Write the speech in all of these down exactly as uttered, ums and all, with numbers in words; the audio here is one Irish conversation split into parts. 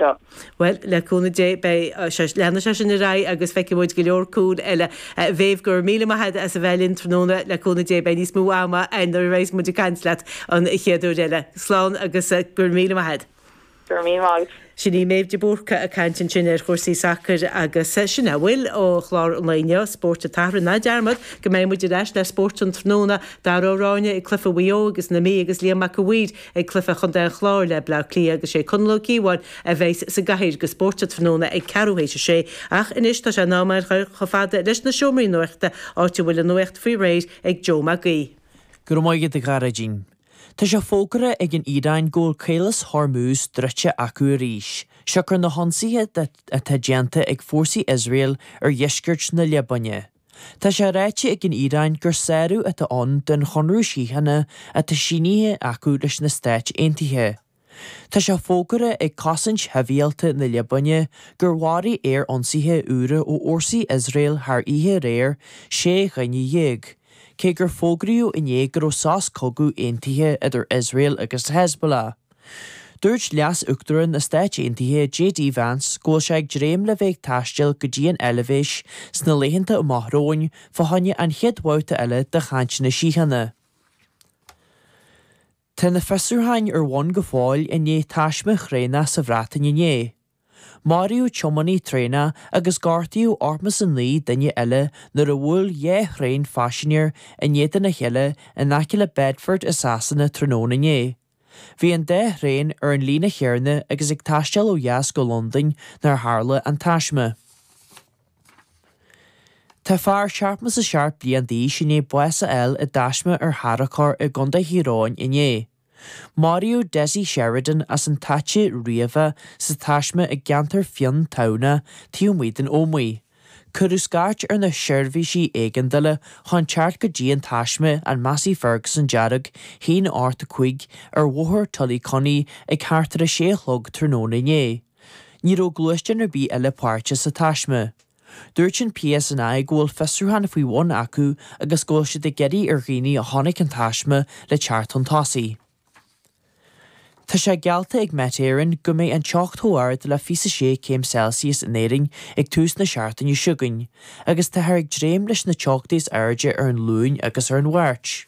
seo. Bhuel, le cúnamh Dé, beidh sé, leanfaidh sé sin ar aghaidh agus feicfidh muid go leor cúil eile. A Mhéabh, go raibh míle maith agat as a bheith linn tráthnóna. Le cúnamh Dé, beidh níos mó ama againn nuair a bheas muid ag caint leat an chéad uair eile. Slán agus go raibh míle maith agat. Go raibh míle maith agat. Sin í Méabh de Búrca ag caint ansin ar chúrsaí sacair agus sin a bhfuil ó chlár an lae inniu, Spórt an tSathairn. Ná dearmad go mbeidh muid ar ais le Spórt an Tráthnóna, Dara Ó Ráinne ag cluiche Mhaigh Eo agus na Mí agus Liam Mac a' Mhaoir ag cluiche Chontae an Chláir le Bleá Cliath agus sé Conall Ó Cíobháin a bheas sa gcathaoir do Spórt an Tráthnóna ag ceathrú théis a sé. Ach anois tá sé in am a dhul chomh fada leis na seomraí nuachta áit a bhfuil an nuacht faoi réir ag Joe Mac Aoidh. Go raibh maith agat a Ghearóidín. Tá sé fógartha ag an Iaráin go bhfuil Caolas Hormuz druidte acu arís, siocair na hionsaithe atá déanta ag fórsaí Iosrael ar dheisceart na Liobáine. Tá sé ráite ag an Iaráin gur sárú atá ann den chonradh síochána atá sínithe acu leis na Stáit Aontaithe. Tá sé fógartha ag Cosaint Shibhialta na Liobáine gur mharaigh aerionsaithe úra ó fhórsaí Iosrael thar oíche aréir sé dhuine dhéag, cé gur fógraíodh inné go raibh sos cogaidh aontaithe idir Iosrael agus Hezbollah. Dúirt Leas-Uachtarán na Stáit Aontaithe J D Vance go bhfuil sé ag dréim le bheith ag taisteal go dtí an Eilvéis sna laethanta amach romhainn fá choinne an chéad bhabhta eile de chainteanna síochána. Tá na fiosrúcháin ar bun go fóill i ndiaidh taisme thraenach sa Bhreatain inné. Maraíodh tiománaí traenach agus gortaíodh ochtó is a naoi duine eile nuair a bhuail dhá thraein phaisinéir in éadan a chéile in aice le Bedford i Sasana tráthnóna inné. Bhí an dá thraein ar an líne chéanna agus ag taisteal ó dheas go Londain nuair a tharla an taisme. Tá fear seachtó is a seacht bliain d'aois i ndiaidh bás a fháil i dtaisme ar tharracóir i gContae Thír Eoghain inné. Maraíodh Desi Sheridan as an Taite Riabhach sa taisme i gceantar Fionn Tamhna taobh amuigh den Ómaigh. Cuireadh scairt ar na seirbhísí éigeandála chun teacht go dtí an taisme an Massey Ferguson dearg haon ocht a cúig ar bhóthar Tullycunny ag thart ar a sé a chlog tráthnóna inné. Ní raibh gluaisteán ar bith eile páirteach sa taisme. Dúirt an P S N I go bhfuil fiosrúchán faoi bhun acu agus go bhfuil siad ag iarraidh ar dhaoine a chonaic an taisme le teacht chun tosaigh. Tá sé geallta ag Met Éireann go mbeidh an teocht chomh ard le fiche sé céim Celsius in Éirinn ag tús na seachtaine seo chugainn, agus táthar ag dréim leis na teochtaí is airde ar an Luan agus ar an Mháirt.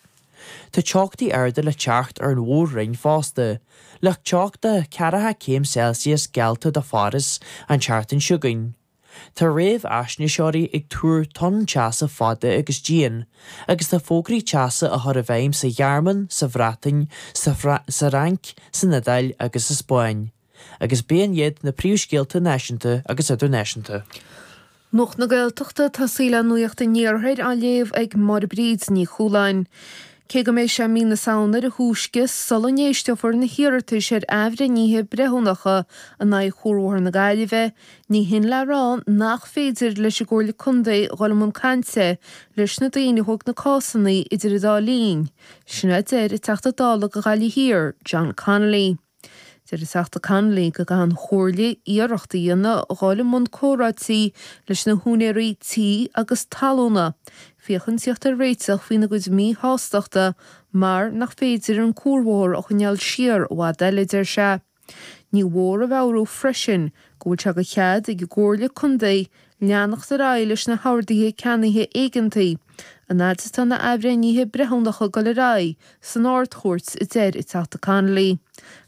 Tá teochtaí arda le teacht ar an mhór-roinn fosta, le teocht de ceathracha céim Celsius geallta do Pháras an tseachtain seo chugainn. Tá réamhaisnéiseoirí ag tuar tonn teasa fada agus dian, agus tá fógraí teasa á chur i bhfeidhm sa Ghearmáin, sa Bhreatain, sa Fhrainc, san Iodáil agus sa Spáinn. Agus b'in iad na príomhscéalta náisiúnta agus idirnáisiúnta. Nuacht na Gaeltachta tosaí le Nuacht an Iarthair á léamh ag Máire Bríd Ní Chualáin. Cé go mbeidh sé mí na Samhna ar a thúisce sula n-éisteofar na hiarratais ar athbhreithnithe breithiúnacha in aghaidh Chuarbhóthar na Gaillimhe, ní hin le rá nach féidir leis an gComhairle Contae dhul i mbun cainte leis na daoine a thóg na cásanna idir an dá linn. Sin a deir an Teachta Dála do Ghaillimh Thiar, John Connolly. Deir an Teachta Connolly go gcaithfidh an Chomhairle iarracht a dhéanamh dhul i mbun comhráití leis na húinéirí tí agus talúna, féachaint tíocht ar réiteach faoina gcuid míshástachta mar nach féidir an cuarbhóthar a choinneáil siar i bhfad eile, deir sé. Ní mhór a mheabhrú freisin go bhfuil sé de chead ag an gComhairle Contae leanacht ar aghaidh leis na horduithe ceannaithe éigeantaí, an fhad is atá na athbhreithnithe breithiúnacha ag dul ar aghaidh san Ard-Chúirt, a deir an Teachta Connolly.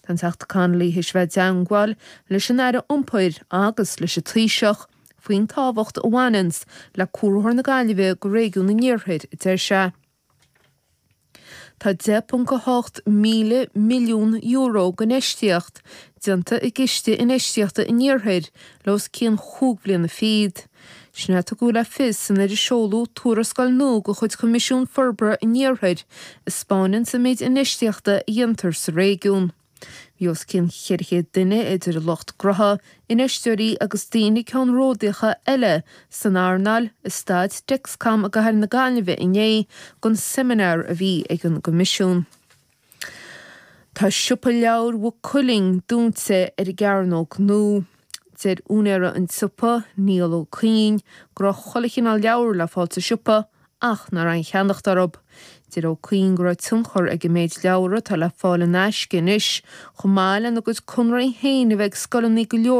Tá an Teachta Connolly théis bheith i dteangmháil leis an Aire Iompair agus leis an Taoiseach faoin tábhacht a bhaineanns le Cuarbhóthar na Gaillimhe go réigiún an Iarthair, a deir sé. Tá deich ponc a hocht míle milliún euro d'infheistíocht déanta i gCiste Infheistíochta an Iarthair le os cionn chúig bhliana fichead. Sin a tugadh le fios nuair a seoladh tuarascáil nua de chuid Choimisiún Forbartha an Iarthair a 'spáineann an méid infheistíochta a dhéantar sa réigiún. Bhí os cionn ceithre chéad duine idir lucht gnótha, infheisteoirí agus daoine ceannródaíocha eile san earnáil i staid Dexcom i gcathair na Gaillimhe inné don seimineár a bhí ag an gCoimisiún. Tá siopa leabhar Mhaigh Cuilinn dúnta ar an gCearnóg Nua. Deir úinéir an tsiopa, Niall Ó Cuinn, go raibh chuile chineál leabhar le fáil sa siopa ach nach raibh aon cheannacht orthu. Deir Ó Cuinn go raibh tionchar ag an méid leabhar atá le fáil in aisce anois, chomh maith lena gcuid conarthaí féin a bheith ag scoileanna go leor